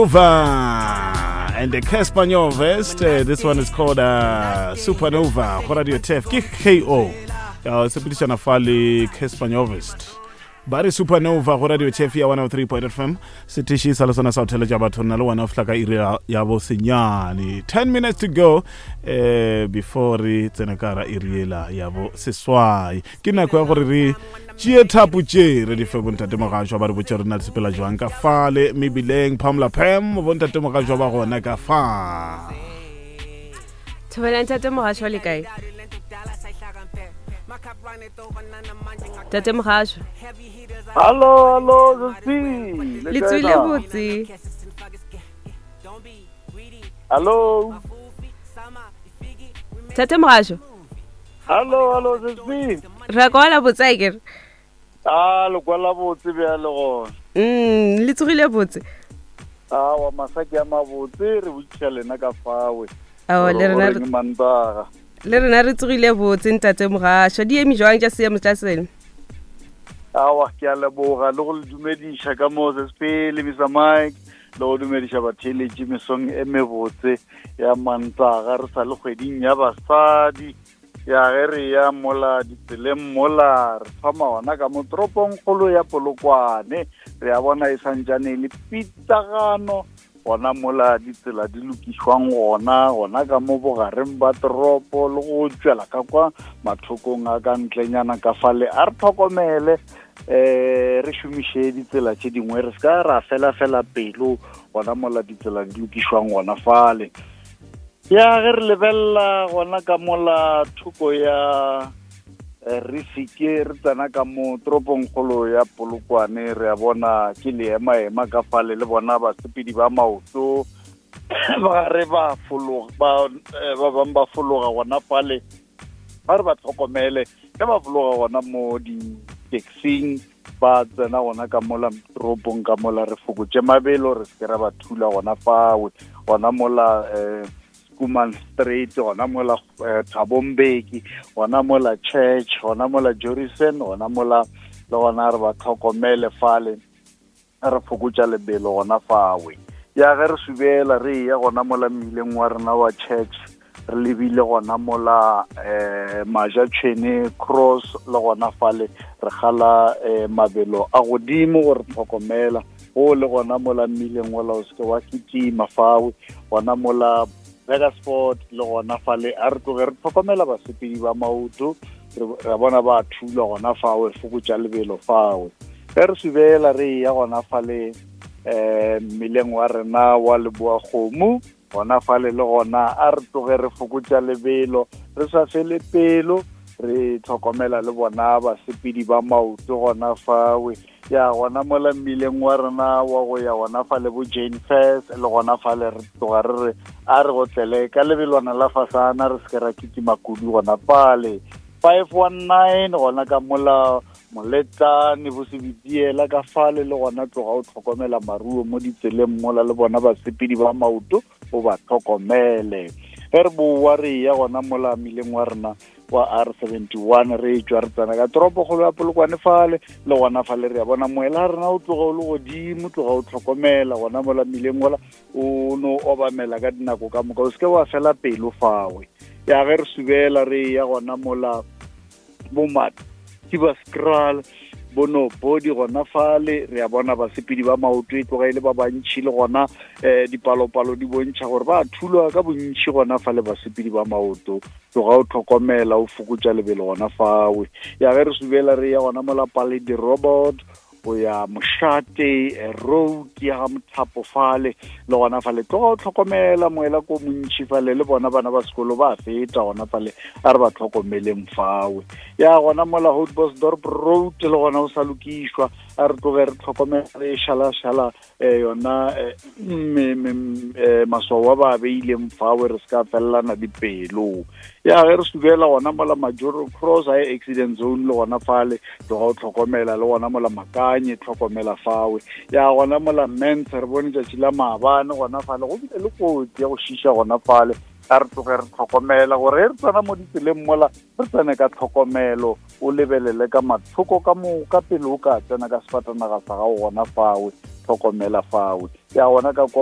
Supernova and the Cassper Nyovest. This one is called Supernova. Go Radio Tef ke KO. Sepedišana fa le Cassper Nyovest. Ba re Supernova go Radio Tef ya 103.5 FM. Setiši sa le sona sa go theletša batho nna le wena o fihla ka iri ya bo senyane. 10 minutes to go before re tsena ka ra iri ela ya bo seswai. Ke nako ya gore re tšee thapo tše re di fe bontate mogašwa ba re botše re na di sepela jwang ka fale mebileng. Pamela Pam, bontate mogašwa ba gona ka fa. Thobela ntate mogašwa le kae? Tate mogašwa. Hallo, hallo, Sesi. Le tswile botse. Hallo. Tate mogašwa. Hallo, hallo, Sesi. Re kwala botse a kere. A le kwala botse bjale gona. Le tsogile botse. A wa masaki a mabotse re botšiša lena ka fawe. Ao, le rena re mantaga. Le rena re tsogile botse ntate mogašwa. Di eme jwang tša seemo tša seno? Awa, ke a leboga le go le dumediša ka mo Sesi le Mr Mike le go dumediša batheeletši mesong e mebotse ya mantaga re sa le kgweding ya basadi. Ya ge re ya mola ditseleng mola re thoma gona ka mo toropong kgolo ya Polokwane, re a bona e santšane le pitlagano gona mola ditsela di lokišwang gona gona ka mo bogareng ba toropo le go tšwela ka kwa mathokong a ka ntlenyana ka fale. A re tlhokomele re šomiše ditsela tše dingwe, re se ka ra fela-fela pelo gona mola ditsela di lokišwang gona fale. Ya ge re lebelela gona ka mola thoko ya re seke re tsena ka mo toropong kgolo ya Polokwane, re a bona ke leema-ema ka fale le bona basepedi ba maoto ba re ba fologa, ba ba bang ba fologa gona fale, ba re ba tlhokomele ge ba fologa gona mo di-taxing ba tsena gona ka mola toropong ka mola, re fokotše mabelo re se ke ra ba thula gona fawe gona mola Kuman Street, gona mola Thabo Mbeki, gona mola Church, gona mola Jorissen, gona mola le gona re ba tlhokomele fale, re fokotša lebelo gona fawe. Ya ge re subela re ya gona mola mmileng wa rena wa Church, re lebile gona mola Maja Tšhwene Cross, le gona fale re gala mabelo a godimo gore tlhokomela o le gona mola mmileng ola o seke wa kitima fawe gona mola Burgersfort, le gona fale a re tloge re tlhokomela basepedi ba maoto, re bona ba thula gona fawe, fokotša lebelo fawe. Ge re subela re ya gona fale mmileng wa rena wa Leboa Kgomo, gona fale le gona a re tloge re fokotša lebelo, re sa fele pelo, re tlhokomela le bona basepedi ba maoto gona fawe. Ya gona mola mmileng wa rena wa go ya gona fale bo Jane Fairs, le gona fale re tloga re re a re gotlele ka lebelwana la fasana, re se ke ra kitima kudu gona fale. 519 gona ka mola Moletlane bo Sebitiela ka fale, le gona tloga o tlhokomela maruo mo ditseleng mola le bona basepedi ba maoto o ba tlhokomele. Ge re boa re ya gona mola mmileng wa rena wa R71, re tšwa re tsena ka toropokgolo ya Polokwane fale, le gona fale re ya bona moela rena o tloga o le godimo, tloga o tlhokomela gona mola mmileng ola, o no obamela ka dinako ka moka, o seke wa fela pelo fawe. Ya ge re subela re ya gona mola bo Mathibaskral, bo no body gona fale, re a bona basepedi ba maoto e tloga e le ba bantši, le gona dipalopalo di bontšha gore ba thulwa ka bontši gona fale basepedi ba maoto. Tloga o tlhokomela, o fokotša lebelo gona fawe. Ya ge re subela re ya gona mola Paledi Robot, o ya Mošate Road ya ga Mothapo fale, le gona fale tloga o tlhokomela moela ko montšhi fale, le bona bana ba sekolo ba feta gona fale, a re ba tlhokomeleng fawe. Ya gona mola Houtbosdorp Road le gona o sa lokišwa, a re tloge re tlhokomela re šala-šala yona maswao a ba beileng fawe, re se ka felelana dipelo. Ya ge re subela gona mola Majoro Cross High Accident Zone, le gona fale tloga o tlhokomela, le gona mola Makanye tlhokomela fawe. Ya gona mola Mens re bone tšatši la maabane gona fale go bile le kotsi ya go šiša gona fale, a re tloge re tlhokomela gore re tsena mo ditseleng mola re tsene ka tlhokomelo, o lebelele ka mathoko ka moka pele o ka tsena ka sefatanaga sa gago gona fawe, tlhokomela fawe. Ya gona ka kwa